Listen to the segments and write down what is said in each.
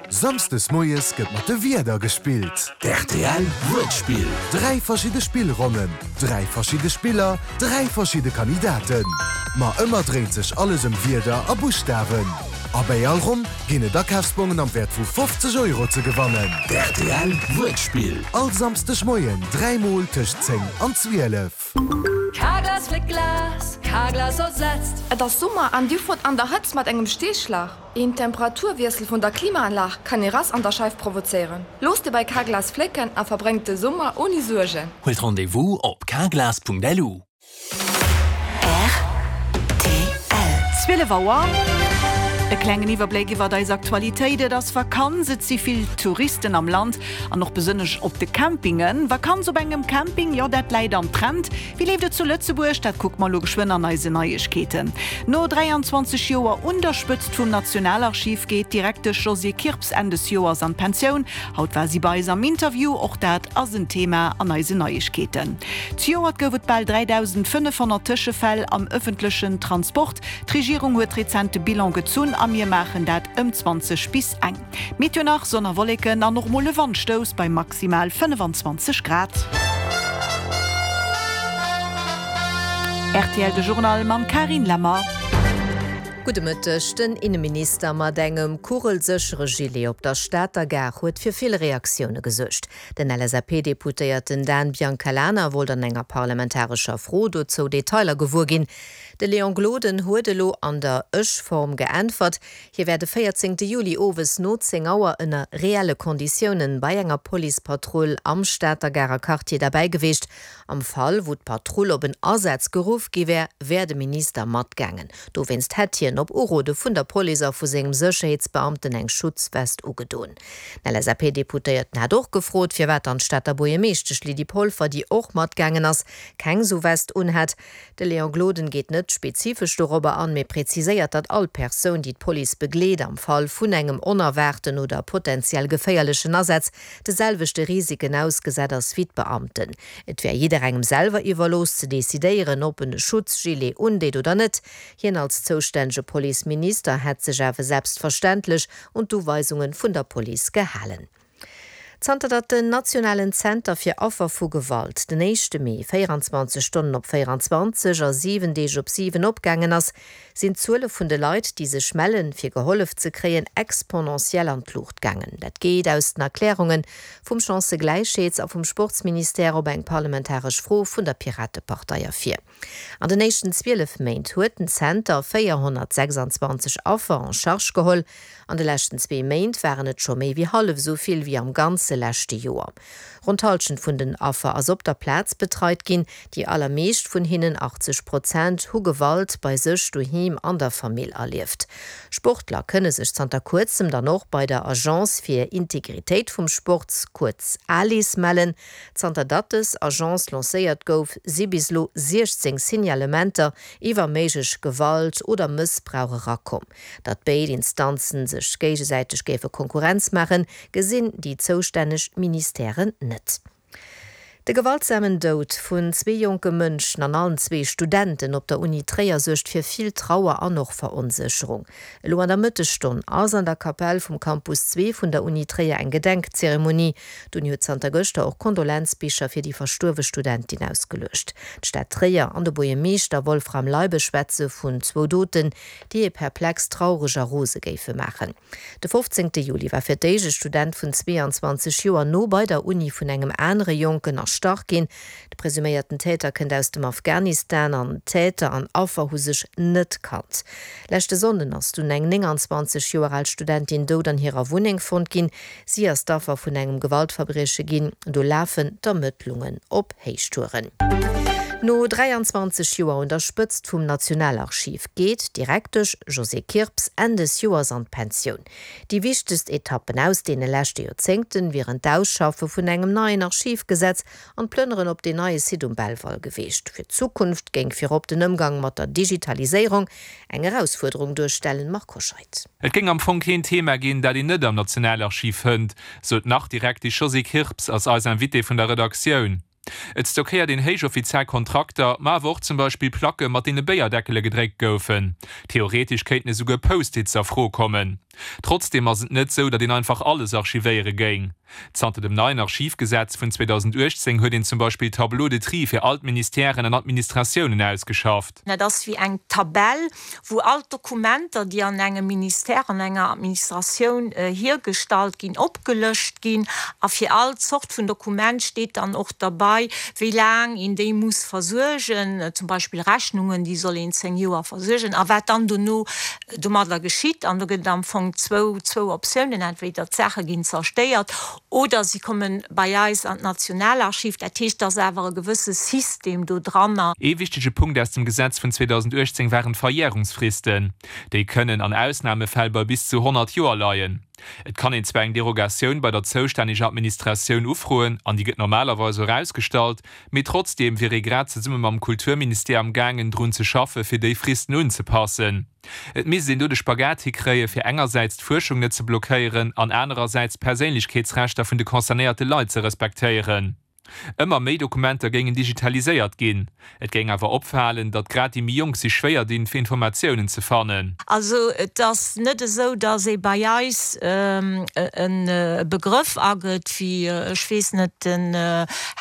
Samsdes moies gëtt mat de Wierder gespillt. Rtl Wuertspill. 3 verschidde Spillronnen, 3 verschidde Spiller, 3 verschidde Kandidaten. Ma ëmmer dréint sech alles ëm Wierder a Buschtawen. A bäi all Ronn ginn et Akafsbongen am Wäert vu 50 Euro ze gewannen. Rtl Wuertspill. All Samsdeg Moien 3 mol tëscht 10 an 12. Carglass fléckt Glas, Carglass ersetzt. Et ass Summer an dir fuert an der Hëtzt mat engem Steeschlag. Een Temperaturwiessel vun der Klimaanlag kann ee Rass an der Scheif provozéieren. Looss dir bei Carglass flécken a verbréngt de Summer ouni Suergen. Huelt Rendez-vous op carglass.lu. Rtl. 12 Auer. E klengen Iwwerbléck iwwert eis Aktualitéit, Et ass Vakanz, et si vill Touristen am Land an och besonnesch op de Campingen. Vakanz op engem Camping, jo dat läit am Trend. Wéi leeft et zu Lëtzebuerg? Dat kucke mer elo geschwënn an eisen Neiegkeeten. No 23 Joer un der Spëtzt vum Nationalarchiv geet d'Direktesch Josée Kirps Enn des Joers an d'Pensioun. Haut war si bei eis am Interview. Och dat ass en Thema an eisen Neiegkeeten. Zejoert gouf et bal 3.500 Tëschefäll am ëffentlechen Transport. D'Regierung huet rezent de Bilan gezunn a mir maachen dat ëm 20 bis eng. Meteo nach, Sonn a Wolleken an och mol e Wandstouss bei maximal 25 Grad. Rtl De Journal mam Carine Lemmer. Gudde Mëtteg. Den Inneminister mat engem kugelséchere Gilet op der Stater Gare huet fir vill Reaktioune gesuergt. Den LSAP-Deputéierten Dan Biancalana wollt an enger parlamentarescher Fro dozou Detailer gewuer ginn. De Léon Gloden huet elo an der Ech-Form geäntwert. Hie wär de 14 Juli owes no 10 Auer ënner reelle Konditiounen bei enger Policepatrull am Stater Garer Quartier derbäi geweecht. Am Fall, wou d'Patrull op en Asaz geruff gi wär, wär de Minister matgaangen. Dowéinst hätt hien op Urode vun der Police a vu sengem Sécherheetsbeamten eng Schutzwest ugedoen. Den LSAP-Deputéierten hat och gefrot, firwat dann d'Stater Buergermeeschtesch Lydie Polfer, déi och matgaangen ass, keng sou West unhat. De Léon Gloden geet net spezifesch dorobber an, mee präziséiert, datt all Persoun, déi d'Police begleet, am Fall vun engem onerwaarten oder potentiell geféierlechen Asaz, de selwechte Risiken ausgesat ass wéi d'Beamten. Et wär jidderengem selwer iwwerlooss ze decidéieren, ob en e Schutzgilet undeet oder net. Hien als zoustännege Policeminister hätt sech awer selbstverständlech un d'Uweisunge vun der Police gehalen. Zanter datt den nationalen Zenter fir Affer vu Gewalt den éischte Mee 24 Stonnen op 24 a 7 Deeg op 7 opgaangen ass, sinn d'Zuele vun de Leit, déi sech mellen, fir gehollef ze kréien, exponentiell an d'Luucht gaangen. Dat geet aus den Erklärunge vum Chancëgläichheets a vum Sportsministère op eng parlamentaresch Fro vun der Piratepartei ervir. An den éischten 12 Méint huet den Zenter 426 Affer en charge geholl. An de leschten zwee Méint waren et scho méi wéi hallef esou vill wéi am ganze leschte Joer. Ronn d'Hallschent vun den Affer ass op der Plaz betreit ginn. Déi allermeescht vun hinnen, 80 Prozent, hu Gewalt bei sech doheem an der Famill erlieft. Sportler kënne sech zanter kuerzem dann och bei der Agence fir Integritéit vum Sport, kuerz ALIS, mellen. Zanter datt dës Agence lancéiert gouf, si bis elo 16 Signalementer iwwer méiglech Gewalt oder Mëssbrauch erakomm. Datt béid Instanzen sech géigesäiteg géife Konkurrenz maachen, gesinn déi zoustänneg Ministèren net. De gewaltsamen Doud vun zwee jonke Mënschen an allen zwee Studenten op der Uni Tréier suergt fir vill Trauer an och Veronsécherung. Elo an der Mëttesstonn ass an der Kapell vum Campus 2 vun der Uni Tréier eng Gedenkzeremonie. D'Uni huet zanter gëschter och Kondolenzbicher fir déi verstuerwe Studentin ausgeluecht. D'Stad Tréier an de Buergermeeschter Wolfram Leibe schwätze vun zwou Doten, déi ee perplex, traureg a rose géife maachen. De 15 Juli war fir d'éischt e Student vun 22 Joer no bei der Uni vun engem anere Jonken erstach ginn. De presuméierten Täter kënnt aus dem Afghanistan an Täter an Affer hu sech net kannt. Leschte Sonnden ass dunn eng 29 Joer al Studentin dout an hirer Wunneng fonnt ginn. Si ass d'Affer vun engem Gewaltverbrieche ginn. Do lafen d'Ermëttlungen op Héichtouren. No 23 Joer un der Spëtzt vum Nationalarchiv geet d'Direktesch Josée Kirps Enn des Joers an d'Pensioun. Déi wichtegst Etappen aus deene leschte Joerzéngten wieren d'Ausschaffe vun engem neien Archivgesetz an d'Plënneren op deen neie Site um Belval geweecht. Fir d'Zukunft géing virop den Ëmgang mat der Digitaliséierung eng Erausfuerderung duerstellen. Marc Hoscheid. Et géing am Fong keen Thema ginn, dat een net am Nationalarchiv fënnt, sou d'Nach-Direktesch Josée Kirps ass eis Invitée vun der Redaktioun. Et stockéiert een héichoffiziell Kontrakter, ma awer och zum Beispill Placke mat deene Béierdeckele gedréckt goufen. Theoretesch kéinten esouguer Post-its a Fro kommen. Trotzdeem ass et net sou, datt een einfach alles archivéiere géing. Zanter dem neien Archivgesetz vun 2018 huet een zum Beispill Tableaux de tri fir all d'Ministèren an Administratiounen ausgeschafft. Dat ass wéi eng Tabell, wou all d'Dokumenter, déi an engem Ministère, an enger Administratioun hiergestallt ginn, opgelëscht ginn. A fir all Zort vun Dokument steet dann och derbei, wéi laang een déi muss versuergen, zum Beispill Rechnungen, déi soll een 10 Joer versuergen, a wat dann dono domadder geschitt. An do gëtt et am Fong zwou, zwou Optiounen, entweder d'Saache ginn zerstéiert oder si komme bei eis an d'Nationalarchiv. Dat heescht, et ass awer e gewësse System do dranner. Ee wichtege Punkt aus dem Gesetz vun 2018 waren d'Verjärungsfristen. Déi kënnen an Ausnamefäll bei bis zu 100 Joer leien. Et kann een zwar eng Derogatioun bei der zoustänneger Administratioun ufroen, an déi gëtt normalerweis och ausgestallt, Mee trotzdeem wier ee grad zesumme mam Kulturministère am gaangen drun ze schaffe fir déi Fristen unzepassen. Et misst een do de Spagat hikréie fir engersäits d'Fuerschung net ze blockéieren an anerersäits d'Perséinlechkeetsrechter vun de concernéierte Leit ze respektéieren. Ëmmer méi Dokumenter géingen digitaliséiert ginn. Et géing awer opfalen, datt grad déi méi Jonk sech schwéier dinn, fir Informatiounen ze fannen. Also et ass net esou, datt ee bei eis e Begrëff agëtt wéi, ech weess net, den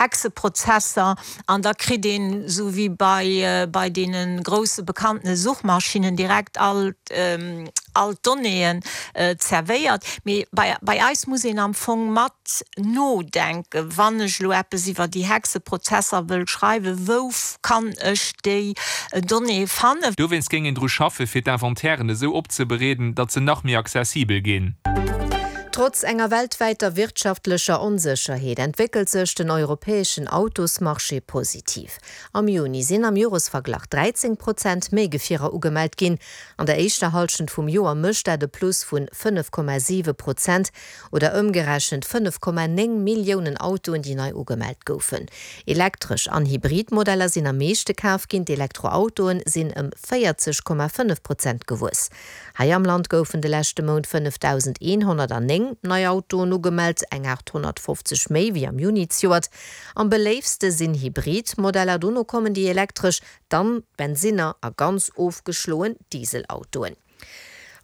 Hexeprozesser an da kritt een, esou wéi bei bei deene grousse bekannte Suchmaschinnen, direkt all all d'Donnéeën zerwéiert. Mee bei bei eis muss een am Fong mat nodenken, wann ech elo eppes iwwer déi Hexeprozesser wëll schreiwen, wou kann ech déi Donnéeë fannen? Dowéinst géing een dru schaffe fir d'Inventairen esou opzebereeden, datt se nach méi accessibel ginn. Trotz enger weltwäiter wirtschaftlecher Onsécherheet entwéckelt sech den europäeschen Autosmarché positiv. Am Juni sinn am Joresverglach 13 Prozent méi Gefierer ugemellt ginn. An der éischter Hallschent vum Joer mécht dat e Plus vun 5,7 Prozent oder ëmgerechent 5,9 Milliounen Autoen, déi nei ugemellt goufen. Elektresch an Hybrid Modeller sinn am meeschte kaf ginn, d'Elektroautoen sinn ëm 40,5 Prozent gewuess. Hei am Land goufen de leschte Mount 5.109 nei Autoen ugemellt, eng 850 méi wéi am Juni zejoert. Am beléiftste sinn Hybrid Modeller, dono kommen déi elektresch, dann d'Bensinner a ganz ofgeschloen Dieselautoen.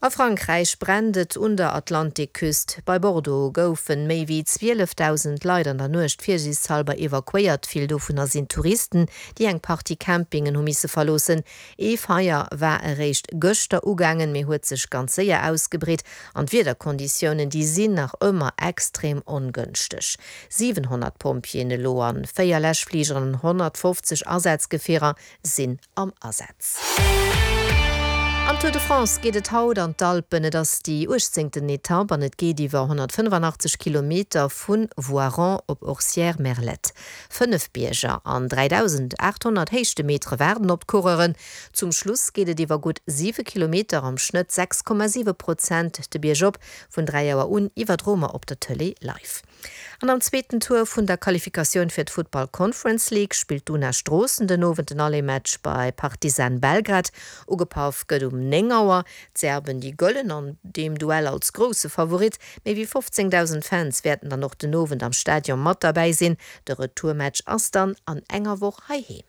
A Frankräich brennt et un der Atlantikküst. Bei Bordeaux goufe méi wéi 12.000 Leit an der Nuecht virsiichtshalber evakuéiert. Vill dovunner sinn Touristen, déi eng Partie Campingen hu misse verloossen. Ee Feier war eréischt gëschter ugaangen, mee huet sech ganz séier ausgebreet an d'Wiederkonditiounen, déi sinn nach ëmmer extrem ongënschteg. 700 Pompjeeën elo an 4 Läschfligeren an 150 Asazgefierer sinn am Asaz. Am Tour de France geet et haut an d'Alpen. Et ass déi uechtzéngten Etapp an et geet iwwer 185 Kilometer vu Voiron op Orcières-Merlette. 5 Bierger an 3.800 Héichtemetere waarden op d'Coureuren. Zum Schluss geet et iwwer gutt 7 Kilometer, am Schnëtt 6,7 Prozent, de Bierg op, vun 3 Auer un iwwerdroe mer op der Tëlee live. An am zweeten Tour vun der Qualifikatioun fir d'Futtball Conference League spillt d'Una Stroossen den Owend den Aller-Match bei Partizan Belgrad. Ugepaff gëtt um 9 Auer. D'Serben, déi gëllen an deem Duell als grousse Favorit. Méi wéi 15.000 Fans wäerten dann och den Owend am Stadion mat derbäi sinn. De Retourmatch ass dann an enger Woch heiheem.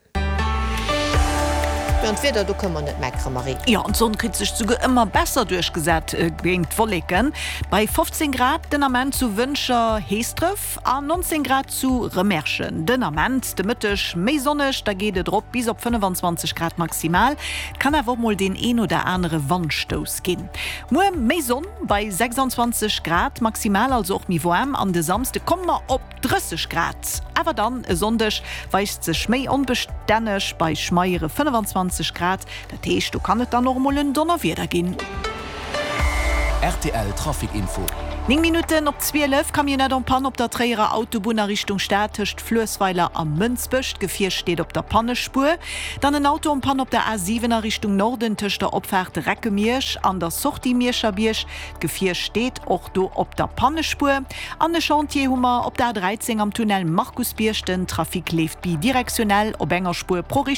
Jo, an d'Wieder, do kënne mer net meckere, Marie. Jo, an d'Sonn kritt sech souguer ëmmer besser duerchgesat géint d'Wolleken. Bei 15 Grad den Ament zu Wëntger, Heesdref a 19 Grad zu Remerschen. Den Ament de Mëtteg méi sonneg, da geet et erop bis op 25 Grad maximal. Et kann awer och mol deen een oder anere Wandstouss ginn. Muer méi Sonn bei 26 Grad maximal, also och méi waarm. An de Samsde komme mer op 30 Grad, awer dann e Sonndeg weist sech méi onbestänneg bei schmeiere 25 Grad, dat heescht do kann et dann och emol en Donnerwieder ginn. Rtl Trafic Info. 9 Minutten op 12, Camionnette en panne op der Tréierer Autobunn a Richtung Stad tëscht Fluessweiler a Mënsbech. D'Gefier steet op der Pannespuer. Dann en Auto en panne op der A7 a Richtung Norden tëscht der Opfaart Recke-Miersch an der Sortie Mierscherbierg. D'Gefier steet och do op der Pannespuer. An e Chantier hu mer op der A 13 am Tunnel Markusbierg. Den Trafic leeft bidirektionell op enger Spuer pro Richtung.